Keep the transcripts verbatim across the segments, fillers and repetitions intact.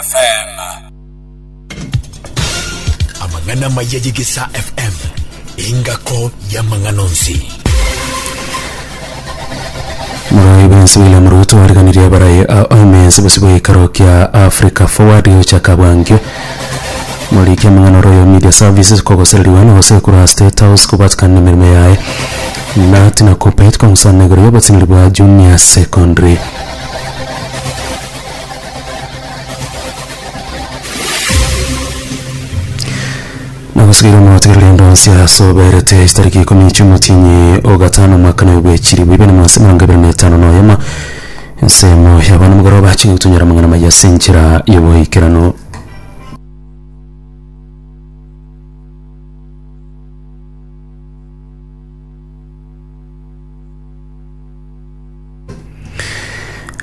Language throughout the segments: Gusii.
F M. Amang'ana maya y'Egesa F M, engako y'amang'ana onsi. Morai bwensi William Ruto ariganirie abarai oimensi bosi bw'ekero kia Africa Forward gochaka bwangio. Moriki amang'ana Royal Media Services kogosereriwa na gose korwa State House kobatikana na emeremo yaye nati na Kuppet kong'usana igoro y'obotineri bwa junior secondary. Nagosugeire omotegereri ndonsi ase oberete chitariki ikomi chi'omotienyi o gatano omwaka na bwe chiribu ibere na mirongo ibere na etano na oyemo ensemo y'abana omogoroba chigotonyora amang'ana maya ase enchera y'oboikeranu.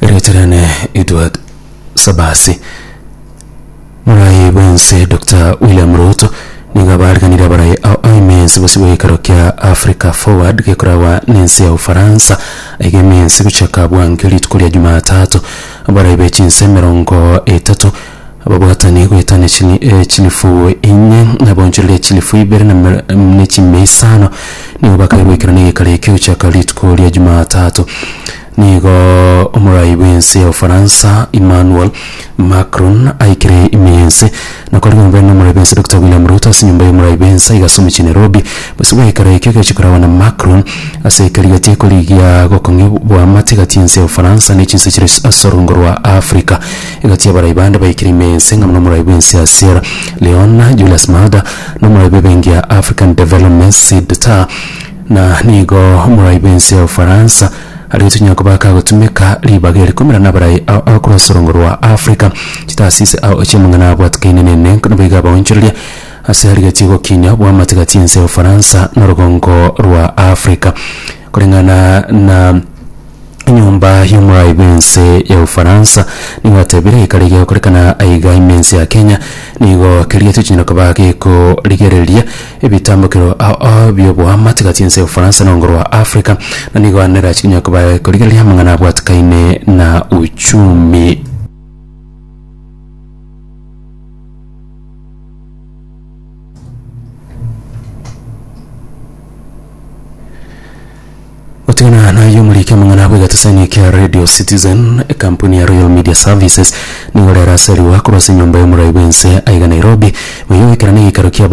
Reterane Edward Sabasi. Morai bwense Doctor William Ruto nigo abariganire abarai aimensi bosi bw'ekero kia Africa Forward gekoragwa n'ense ya Ufaransa aiga emensi gochaka bwange rituko ria Jumatatu. Abarai bechinse emerongo etato ababwatani goetana chili- eh, chilifu inye nabonchoreria chilifu ibere na mer- na chimia isano nigo bakaigwekera n'egekaro ekio gochaka rituko ria Jumatatu. Nigo omorai bw'ense ya Ufaransa Emmanuel Macron aikire ime y'ense nakorigombe n'omorai bw'ense Doctor William Ruto ase enyomba y'omorai bw'ense iga omochie Nairobi bose bwekero ekio gechikoragwa na Macron ase ekerigetie korigia gokong'i bwamate gati y'ense ya Ufaransa na chinse chire ase orungo rwa Africa. Egati abarai bande baikire ime y'ense ng'a n'omorai bw'ense ya Sierra Leone Julius Maada n'omorai bw'ebenki ya African Development Sid Tah. Na nigo omorai bw'ense ya Ufaransa aritunya kuba kagotumika ribaga erikumira n'abarai across orungo rwa Africa chitasisi ao chimang'ana abwatikaine nene noboiga abaonchoreria ase arigetie gokinya bwamate gati y'ense ya Ufaransa n'orugongo rwa Africa. Kulingana na enyomba y'omorai bw'ense ya Ufaransa nigo atebire ekare gegokorekana aiga imense ya Kenya nigo kerigetie chinyara koba gekorigereria ebitambukero ao by'oboamate gati y'ense ya Ufaransa n'orugongo rwa Africa na nigo anera chinyara koba gekorigereria amang'ana abwatikaine na uchumi. Gotigana nayo omoriki amang'ana bwegatasani kia Radio Citizen, ekampuni ya Royal Media Services nigo rero aseriwa korwa ase enyomba y'omorai bw'ense aiga Nairobi boiyo goikera na egekaro kia